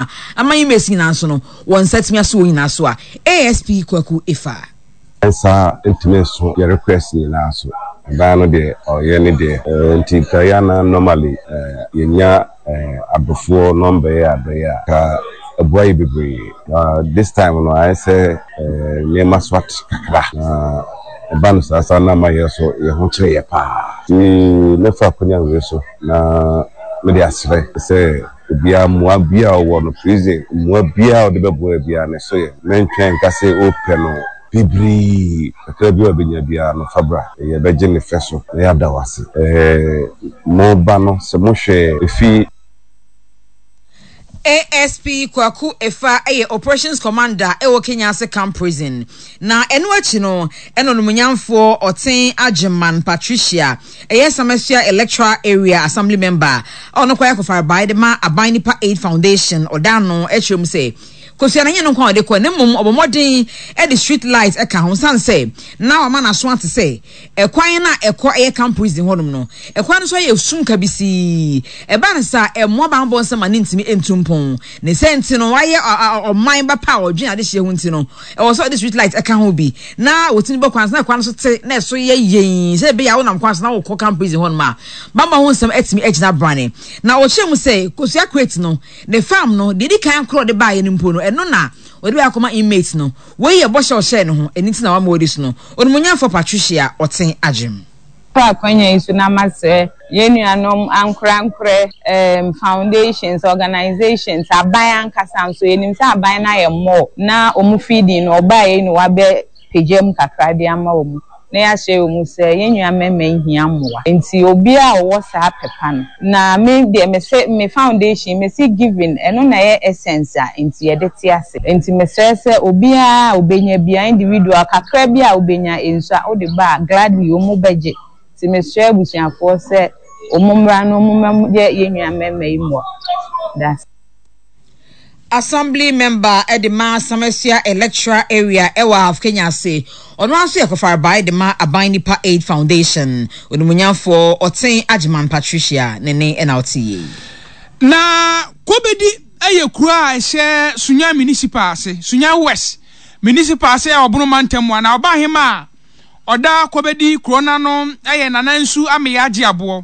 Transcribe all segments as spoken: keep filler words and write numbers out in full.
adwuma ama inmates nyinaa nso no wɔn nsa tumi aso wɔn nyinaa so a A S P Kwaku Efa. Nsa ntumi nso yɛ request nyinaa so ɛban no deɛ ɔyɛ ne deɛ, nti nka na normally yɛnya adɔfoɔ number yɛ adɔyɛ a ka ɛboa yɛ bebree. This time no ayɛ sɛ nneɛma so ate kakra na ɛba no saa saa na ama yɛ so yɛ ho kyerɛ yɛ paa, nti mɛfa akonnwa wei so na mede asrɛ sɛ obiara mmoa biara ɔwɔ no prison, mmoa biara ɔde bɛboa biara ne so yɛ mɛntwɛn nka sɛ ɔpɛ no bebree, kakra bi a ɔbɛnya biara no fa bra, yɛbɛgye ne fɛ so na yɛada wo ase. Mo ba no sɛ mohwɛ efi. A S P Kwaku Efa ɛyɛ operations commander ɛwɔ Kenyase Camp Prison. Na ɛno akyi no ɛna onumnyamfoɔ Ɔten Agyeman Patricia, ɛyɛ Samasua Electoral Area Assembly member a ɔno kɔ akɔfarebae de ma Aban Nipa Aid Foundation, ɔda no ɛkyerɛ mu sɛ kosua na nyɛ no nkwa a ɔde kɔ ne mmom ɔbɔ mmɔden ɛde street light ɛka ho san sɛ na wama n'aso ate sɛ ɛkwan na ɛkɔ ɛyɛ camp prison hɔnom no, ɛkwan no nso ayɛ sum kabisii. Ɛba no sa ɛmmoa banbɔ nsɛm a ne ntumi ntu mpɔn ne sɛ nti no wayɛ ɔman ba pa a ɔdwen adehyeɛ ho, nti no ɛwɔ sɛ ɔde street light ɛka ho bi na wɔtumi bɔ kwan so na kwan no so te na ɛso yɛ yɛn sɛ ɛbɛyɛ a wonam kwan so na wokɔ camp prison hɔnom a bambɔ ho nsɛm atumi agyina brane. Na ɔkyerɛ mu sɛ kosua crate no ne farm no deɛ di kan korɔ de baayɛ no mpo no, ɛno na wɔde bɛ akɔma inmate no. Wei yɛ bɔhyɛ ɔhyɛ ne ho, ɛno nti na wama wɔdi so no. Onimonyamfo Patricia Ɔten Agyem. Fa akwanya yi so na masrɛ yɛn nuanom ankorankorɛ, um, foundations, organizations, aban ankasa nso. Yɛnim sɛ aban no ayɛ mmɔɔ na ɔmo feeding no ɔbaa yi na wabɛ pagya mu kakra de ama wɔn na yɛahyɛ wɔn sɛ yɛn nua mmarima yi hia mmoa, nti obiara a ɔwɔ saa pɛpa no na me deɛ mese me foundation mese giving, ɛno na ɛyɛ essence a nti yɛde te ase. Nti mesrɛ sɛ obiara a obenya bia, individual kakra bi a obenya nso a wode ba a, gladly wɔn bɛgye. Nti mesrɛ abusuafoɔ sɛ wɔn mmra na wɔn mmɛyɛ yɛn nua mmarima yi mmoa. That's Assembly member ɛde ma Samasua Electoral Area ɛwɔ Ahafo Kenyase, ɔno nso yɛ kɔfarebae de ma Aban Nipa Aid Foundation, onimonyamfoɔ Ɔten Agyeman Patricia ne ne ɛna ɔte yie. Na Kobedi yɛ kuro a ɛhyɛ Sunya Municipal ase, Sunya West Municipal ase a ɔbono mantam a na ɔba ahema a ɔda Kobedi kuro n'ano yɛ Nana Nsu Ameya Agye Aboɔ.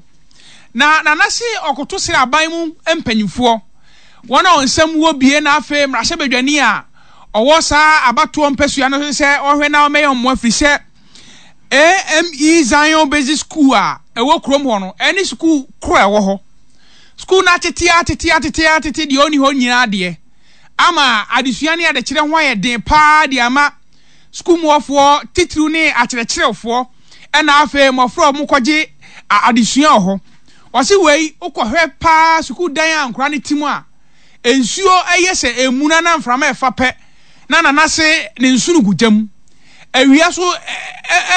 Na Nana se ɔkoto srɛ aban mu mpanyinfoɔ, wɔn a nsɛm wɔ bie, na afei mmarahyɛbadwani a ɔwɔ saa abatoɔ mpasua no sɛ ɔhwɛ na ɔmɛyɛ mmoa, firi sɛ A M E Zion Basic School a ɛwɔ kurom hɔ no ɛne sukuu koro a ɛwɔ hɔ, sukuu no atete atete atete atete deɛ ɔni hɔ nyinaa deɛ ama adesua ne adekyerɛ ho ayɛ den paa de ama sukuu muɔfoɔ titiriw ne akyerɛkyerɛfoɔ, ɛna afei mmɔfra a wɔkɔgye adesua wɔ hɔ. Wɔsi wei wokɔhwɛ paa, sukuu dan a nkora no ti mu a nsuo ɛyɛ sɛ emuna na mframa ɛfa pɛ na nana se ne nsu no gu gyam, awia so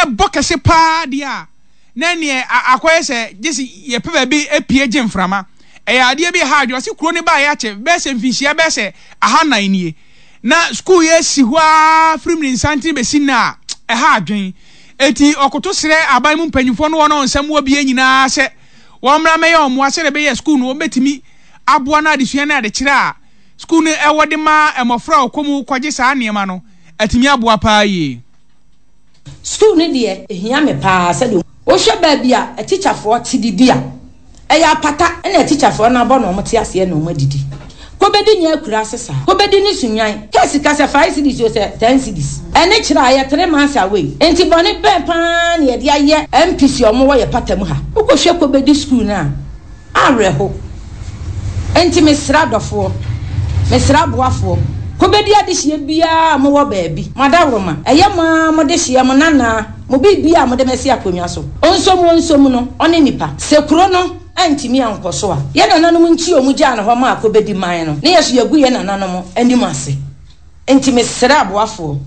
ɛbɔ kɛse paa deɛ a na neɛ akɔyɛ sɛ gye si yɛpɛ baabi epie gye mframa. Ɛyɛ adeɛ bi ha adwo. Ɔsi kuro ne baa yɛ akyɛ bɛyɛ sɛ mfinhyia bɛyɛ sɛ ahanan nie na sukuu yɛ si hɔ ara firim ne nsanten bɛsi na ɛha adwen. Eti ɔkoto srɛ aban mu mpanyinfoɔ no wɔn a nsɛm wɔ bie nyinaa sɛ wɔn mmra mɛyɛ wɔn mmoa sɛdeɛ ɛbɛyɛ sukuu no wɔn bɛtumi aboa no adesua ne adekyerɛ a sukuu no ɛwɔ de ma mmɔfra a ɔkɔ mu kɔgye saa nneɛma no atumi aboa paa yie. Sukuu no deɛ ehia me paa. Sɛdeɛ wohwɛ baabi a atikyafoɔ te didi a ɛyɛ apata, ɛna atikyafoɔ no abɔ na wɔn te aseɛ na wɔn adidi. Kɔbɛdi nyɛ akura ase saa, kɔbɛdi ne sunyan kɛsi kasa five cedis o sɛ ten cedis, ɛne kyerɛ a yɛ three months away. Nti bɔne bɛn paa na yɛde ayɛ M Ps a wɔwɔ yɛ pata mu ha? Wokɔhwɛ kɔbɛdi sukuu no a awerɛho. Nti mesrɛ adɔfoɔ, mesrɛ aboafoɔ, kɔbɛdi adehyeɛ biara a mowɔ baabi mo adaworoma, ɛyɛ mo a mode hyeɛ mo nanaa mo biribi a mode mɛsi akonnwa so ɔnsom ɔnsom no ɔne nipa sɛ kuro no antumi ankɔ so a yɛ nananom nkyi ɔmu gyaa ne hɔ ma akɔbɛdi man no ne yɛ so yɛgu yɛ nananom anim ase. Nti mesrɛ aboafoɔ,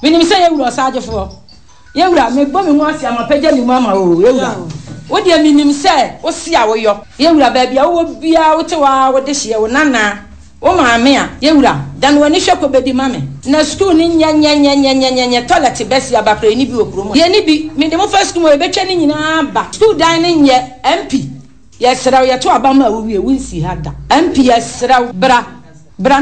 menim sɛ yɛwura ɔsaagyefoɔ, yɛwura mebɔ me mu ase ama pɛgya me mu ama o. Yɛwura, wo deɛ menim sɛ wosi a woyɔ. Yɛwura, baabi a wowɔ biara, wote hɔ a wode hyeɛ wo nanaa wo maame a, yɛwura dane w'ani hwɛ kɔbɛdi ma me na sukuu no nyɛnyɛnyɛnyɛnyɛnyɛ toilet bɛsi abakora. Yɛni bi wɔ kurom, yɛni bi. Mede mo fa sukuu mu yɛbɛtwa ne nyinaa ba. Sukuu dan no nyɛ. M P, yɛsrɛ wo, yɛto aba ma a wowie wonsi ha da. M P, yɛsrɛ wo, bra bra ne